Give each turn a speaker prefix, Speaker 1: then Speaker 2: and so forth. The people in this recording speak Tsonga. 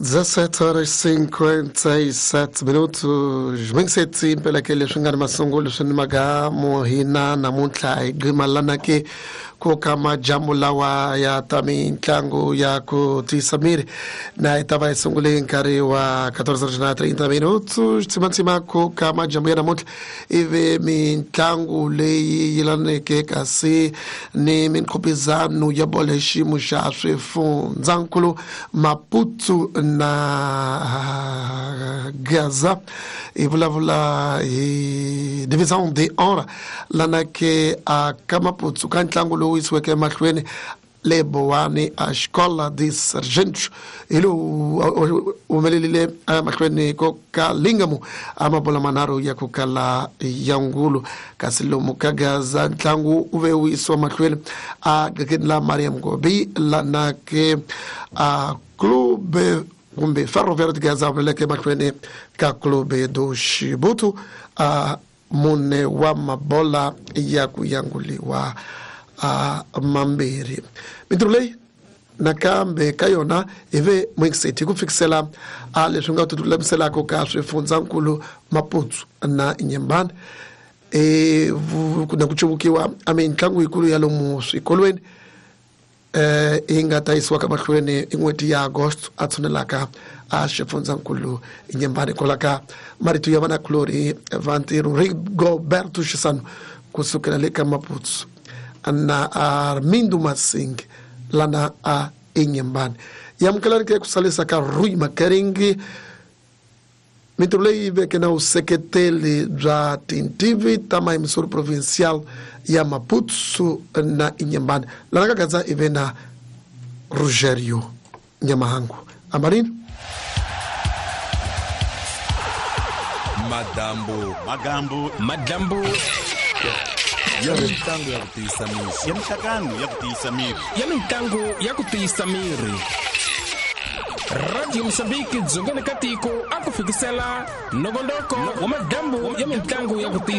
Speaker 1: 17 horas 57 minutos. Mingiseti impela ke leswi nga ni masungulo swi ni magamu hina namuntlha hi gqima ke ku ka majambu lawa ya ta mitlangu ya ku tiyisa miri na hi ta va hi sungule hi nkarhi wa 14:30 minutos. Tsimatsima ku ka majambu ya namuntlha ivi mitlangu leyi yelaneke kasi ni minkhupizano ya bolo hi xiyimo xa swifundzankulu Maputo na Gaza hi vulavula hi Division de Honra lana ke a ka Maputo ka ntlangu lowu yisiweke emahlweni le Bowani a Escola de Sargentos hi lowu humelerile emahlweni ko ka Lingamo a mabola manharhu ya ku kala ya ngulu kasi lomu ka Gaza ntlangu wu ve wu yisiwa mahlweni a gakeni la Mariam Gobi lana ke a Clube kumbe Ferroviário de Gaza humeleleke emahlweni ka Clube do Xibutu a mune wa mabola ya ku yanguliwa a mambirhi. Mintirho leyi nakambe ka yona hi ve Moingseti hi ku fikisela a leswi nga tilulamiselaka ka swifundzankulu Maputo na Inhambane na ku cuvukiwa a mitlangu yikulu ya lomu swikolweni yi nga ta yisiwaka mahlweni i n'hweti ya Agosto a tshunelaka a xifundzankulu Inhambane kwala ka marito ya vanakulorhi va ntirho Rigoberto Xisano kusukela le ka Maputo na Armindo Masing lana a Inhambane. Yamukelani ke ku salisa ka Rui Makaringi mintirho leyi veke na vuseketeli bya tintivi ta mayimisori provincial ya Maputo na Inhambane lana ka Gaza ive na Rogério Nyamahangu Amarino.
Speaker 2: Madambu
Speaker 3: Magambu
Speaker 4: Madambu
Speaker 2: ya mitlangu ya ku tiyisa miri
Speaker 3: ya mihlangano ya ku tiyisa miri
Speaker 4: ya mitlangu ya ku tiyisa miri. Radio Mozambique dzongeni ka tiko a ku fikisela nongonoko wa madambu ya mitlangu ya ku tiyisa